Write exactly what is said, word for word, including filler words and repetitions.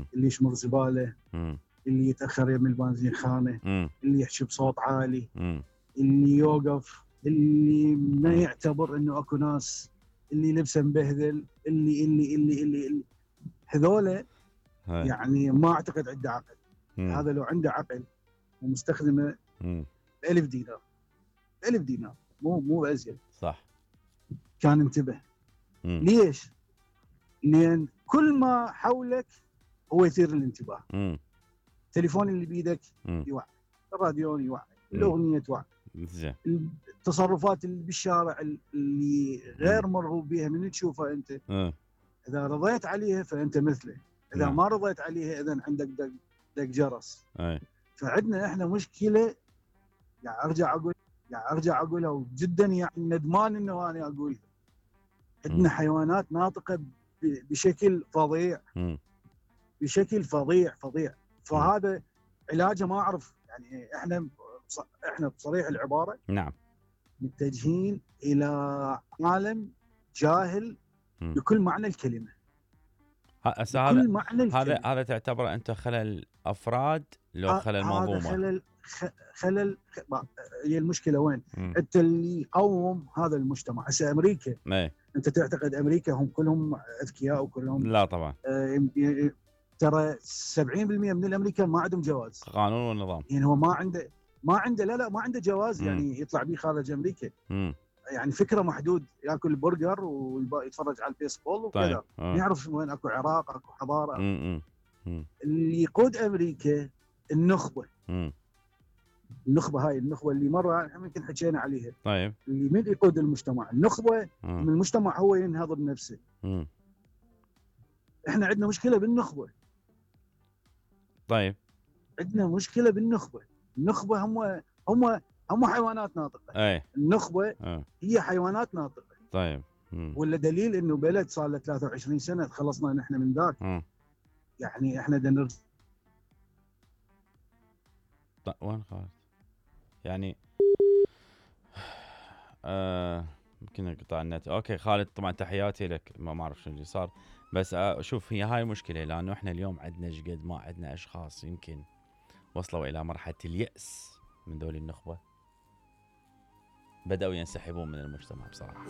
مم. اللي يشمر زباله، مم. اللي يتاخر يم البنزين خانه، مم. اللي يحكي بصوت عالي، مم. اللي يوقف، اللي ما يعتبر انه اكو ناس، اللي لبسه مبهذل، اللي اللي اللي اللي, اللي. هذولا هاي. يعني ما اعتقد عنده عقل. مم. هذا لو عنده عقل ومستخدمه مم. ألف دينار ألف دينار مو مو ازيد صح. كان انتبه. مم. ليش؟ لان كل ما حولك هو يثير الانتباه. مم. التليفون اللي بيدك مم. يوعي، الراديو يوعي، مم. الاغنيه توعي، زين. التصرفات اللي بالشارع اللي غير مرغوب بها من تشوفها انت، مم. اذا رضيت عليها فانت مثله، اذا نعم. ما رضيت عليها اذا عندك دق دق جرس. اي. فعندنا احنا مشكله، يعني ارجع اقول يعني ارجع اقولها وجدا يعني ندمان انه انا اقولها. عندنا حيوانات ناطقه ب- بشكل فظيع، مم. بشكل فظيع فظيع. فهذا علاجه ما اعرف. يعني احنا بص- احنا بصريح العباره نعم. متجهين الى عالم جاهل مم. بكل معنى الكلمه، هسه هذا بكل معنى هذا الكلمه. هذا تعتبره انت خلل افراد لو خلل هذا منظومه؟ خلل خ- خلل خ- ما- هي المشكله وين؟ مم. انت اللي يقوم هذا المجتمع. هسه امريكا، اي. انت تعتقد امريكا هم كلهم اذكياء وكلهم؟ لا طبعا. آه يم- ي- ترى سبعين بالمئة من الامريكان ما عندهم جواز. قانون ونظام. يعني هو ما عنده ما عنده لا لا ما عنده جواز مم. يعني يطلع به خارج امريكا. مم. يعني فكره محدود، ياكل برجر ويتفرج على البيسبول وكذا. طيب. ما يعرف وين اكو عراق، اكو حضاره. مم. مم. اللي يقود امريكا النخبه. مم. النخبه هاي النخبه اللي مره يمكن حكينا عليها. طيب. اللي من يقود المجتمع؟ النخبه. مم. من المجتمع هو ينهض بنفسه. مم. احنا عندنا مشكله بالنخبه. طيب. عندنا مشكله بالنخبه. النخبه هم هم هم حيوانات ناطقه. اي. النخبه اه. هي حيوانات ناطقه. طيب. مم. ولا دليل انه بلد صار له ثلاثة وعشرين سنه خلصنا نحن من ذاك. مم. يعني احنا بدنا نرجع. طيب وين خالد؟ يعني آه يمكن انقطاع النت. اوكي خالد طبعا تحياتي لك. ما ما اعرف شنو اللي صار، بس آه شوف هي هاي مشكله، لانه احنا اليوم عندنا شقد ما عندنا اشخاص يمكن وصلوا الى مرحله اليأس من ذول النخبه، بدأوا ينسحبون من المجتمع بصراحه.